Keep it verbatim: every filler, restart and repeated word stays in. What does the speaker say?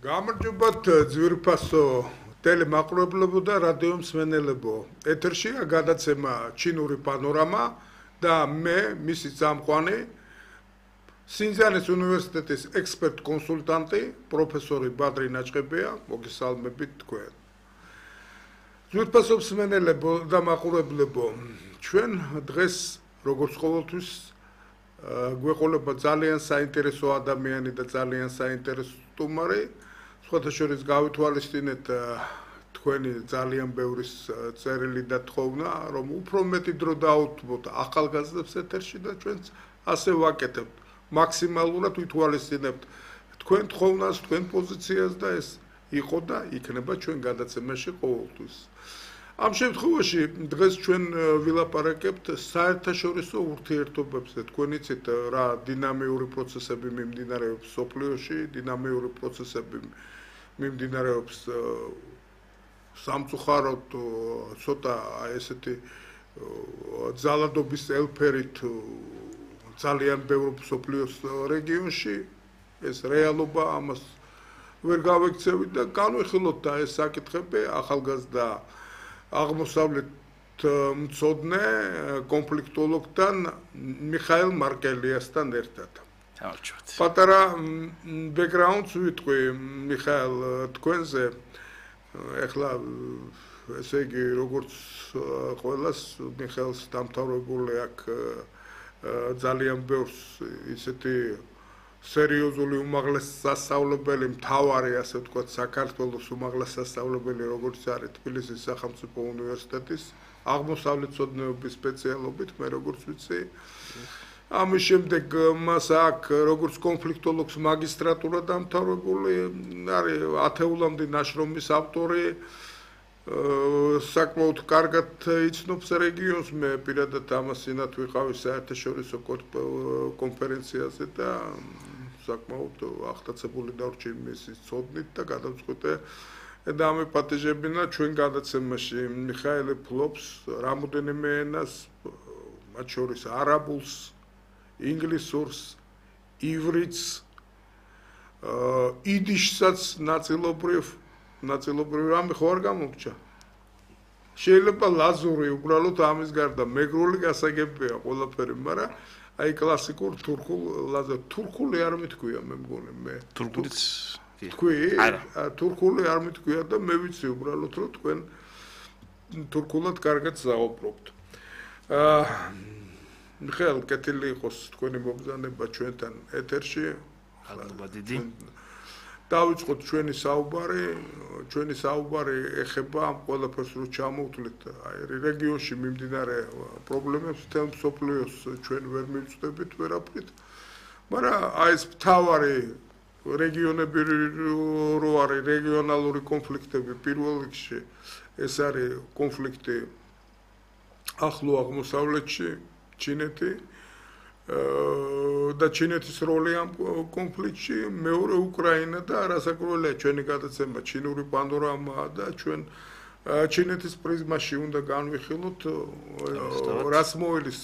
გამარჯობათ ძვირფასო ტელემაყურებლებო და რადიო მსმენელებო. ეთერშია გადაცემა ჩინური პანორამა და მე, მისი წამყვანი, სინძანის უნივერსიტეტის ექსპერტ კონსულტანტი, პროფესორი ბადრი ნაჭყებია, მოგესალმებით თქვენ. ძვირფასო მსმენელებო და მაყურებლებო, ჩვენ დღეს როგორც ყოველთვის გვეყოლება ძალიან საინტერესო ადამიანი და ძალიან საინტერესო სტუმარი. სხვათა შორის გავითვალისწინეთ თქვენი ძალიან ბევრი წერილი და თხოვნა, რომ უფრო მეტი დრო დაუთმოთ ახალგაზრდებს ეთერში და ჩვენც ასე ვაკეთებთ. მაქსიმალურად ვითვალისწინებთ თქვენ თხოვნას, თქვენ პოზიციას და ეს იყო და იქნება ჩვენ გადაცემაში ყოველთვის. ამ შემთხვევაში დღეს ჩვენ ვილაპარაკებთ საერთაშორისო ურთიერთობებზე. თქვენ იცით რა დინამიური პროცესები მიმდინარეობს სოფლიოში, დინამიური პროცესები მიმდინარეობს სამწუხაროდ ცოტა ესეთი ძალადობის ელფერით ძალიან ბევრ სოფლიოს რეგიონში. ეს რეალობა, ამას ვერ გავექცევით და განვიხილოთ და ეს საკითხები ახალგაზრდა აღმოსავლეთ მცოდნე კონფლიქტოლოგთან მიხაილ მარკელიასთან ერთად. პატარა ბექგრაუნდს ვიტყვი მიხაილ თქვენზე. ეხლა ესე იგი როგორც ყველას მიხაილს დამთავრებული აქვს ძალიან ბევრს ისეთი სერიოზული უმაღლესი სასწავლებელი, მთავარი ასე ვთქვათ საქართველოს უმაღლესი სასწავლებელი, როგორც არის თბილისის სახელმწიფო უნივერსიტეტის აღმოსავლეთმცოდნეობის სპეციალობით, მე როგორც ვიცი. ამის შემდეგ მას აქვს როგორც კონფლიქტოლოგს მაგისტრატურა დამთავრებული, არის ათეულამდე ნაშრომის ავტორი, საკმაოდ კარგად იცნობს რეგიონს, მე პირადად ამას წინათ ვიყავი საერთაშორისო კონფერენციაზე და საკმაოდ აღტაცებული დარჩი მისი ცოდნით და გადავწყვიტე და ამე პატეჟებინა ჩვენ გადაცემაში. მიხაილე ფლობს რამოდენიმე ენას, მათ შორის არაბულს, ინგლისურს, ივრითს, იდიშსაც ნაწილობრივ ნაწილობრივ რამე ხო არ გამოგჭა. შეიძლება ლაზური უბრალოდ ამის გარდა მეგრული გასაგებია ყველაფერი, მაგრამ აი კლასიკურ თურქულ ლაზა თურქული არ მითქვია მე მგონი მე. თურქულიც თქვი? არა, თურქული არ მითქვია და მე ვიცი უბრალოდ რომ თქვენ თურქულად კარგად საუბრობთ. აა მიხაილ, კეთილი იყოს თქვენი მობრძანება ჩვენთან ეთერში. მადლობა დიდი. დავიწყოთ ჩვენი საუბარი, ჩვენი საუბარი ეხება ამ ყველაფერს რო ჩამოვთვლით, აი რეგიონში მიმდინარე პრობლემებს, თემ სოფლიოს ჩვენ ვერ მივწდებით ვერაფრით. მაგრამ აი ეს მთავარი რეგიონები რო არის რეგიონალური კონფლიქტები, პირველ რიგში ეს არის კონფლიქტი ახლო აღმოსავლეთში, ჩინეთი და ჩინეთის როლი ამ კონფლიქტში, მეორე უკრაინა და არასაკურველია ჩვენი გადაცემა ჩინური პანორამაა და ჩვენ ჩინეთის პრიზმაში უნდა განვიხილოთ რას მოელის